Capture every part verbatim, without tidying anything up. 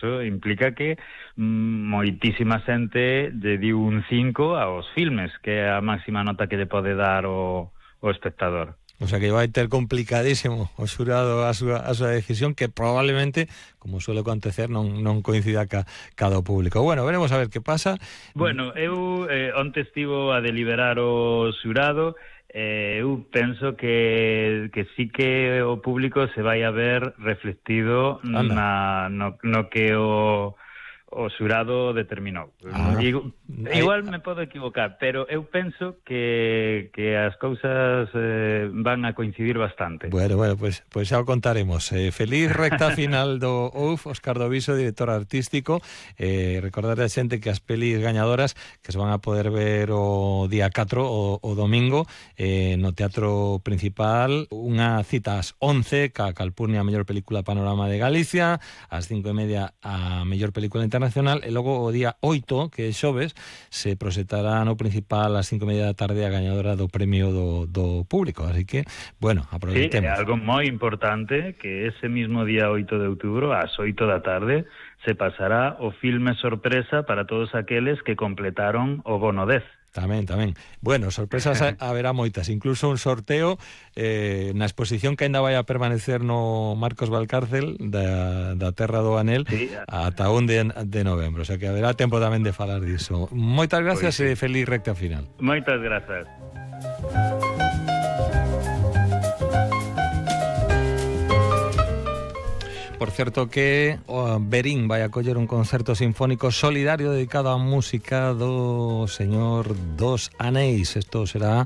eso implica que moitísima xente lle diu un cinco aos filmes, que é a máxima nota que lle pode dar o, o espectador. O sea que vai ter complicadísimo o xurado a súa, a súa decisión, que probablemente, como suele acontecer, non, non coincida ca, cada público. Bueno, veremos a ver que pasa. Bueno, eu eh, onte estivo a deliberar o xurado, eh, eu penso que, que sí que o público se vai a ver reflectido na, no, no que o... o xurado determinou. Ah, Digo, igual me podo equivocar, pero eu penso que, que as cousas eh, van a coincidir bastante. Bueno, bueno, pues, pues xa o contaremos. Eh, feliz recta final do O U F, Óscar Doviso, director artístico. Eh, recordar a xente que as pelis gañadoras que se van a poder ver o día catro, o, o domingo, eh, no Teatro Principal, unha cita ás once, ca Calpurnia a mellor película Panorama de Galicia, ás cinco e media a mellor película internacional, e logo o día oito, que é xoves, se proxectará no Principal ás cinco e media da tarde a gañadora do premio do, do público. Así que, bueno, aproveitemos. Sí, algo moi importante, que ese mismo día oito de outubro, ás oito da tarde, se pasará o filme sorpresa para todos aqueles que completaron o bono dez. Tamén, tamén. Bueno, sorpresas haberá moitas, incluso un sorteo eh, na exposición que ainda vai a permanecer no Marcos Valcárcel da, da Terra do Anel, sí, ata un de, de novembro, o sea que haberá tempo tamén de falar diso. Moitas gracias, pues sí. E feliz recta final. Moitas grazas. Por certo que o Verín vai a coller un concerto sinfónico solidario dedicado á música do Señor dos Anéis. Isto será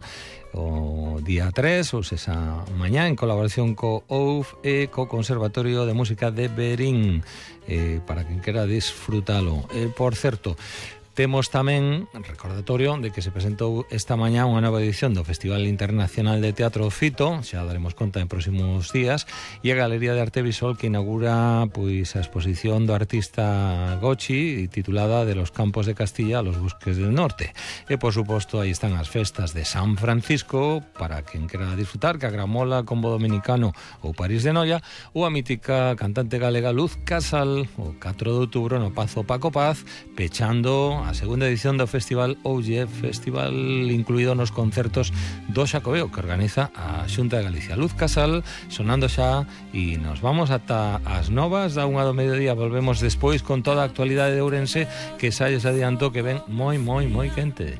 o día tres, ou sexa mañá, en colaboración co O U F e co Conservatorio de Música de Verín, eh, para quen quera disfrutalo. Eh, por certo, temos tamén recordatorio de que se presentou esta mañá unha nova edición do Festival Internacional de Teatro Fito, xa daremos conta en próximos días, e a Galería de Arte Visual que inaugura pois a exposición do artista Gochi, titulada De los campos de Castilla a los bosques del norte. E, por suposto, aí están as festas de San Francisco, para quen quera disfrutar, que a Gramola, Combo Dominicano ou París de Noia, ou a mítica cantante galega Luz Casal, o catro de outubro no Pazo Paco Paz, pechando a segunda edición do Festival O G F Festival, incluído nos concertos do Xacobeo que organiza a Xunta de Galicia. Luz Casal sonando xa, e nos vamos ata as novas da unha do mediodía. Volvemos despois con toda a actualidade de Ourense, que xa lles adianto que ven moi, moi, moi quente.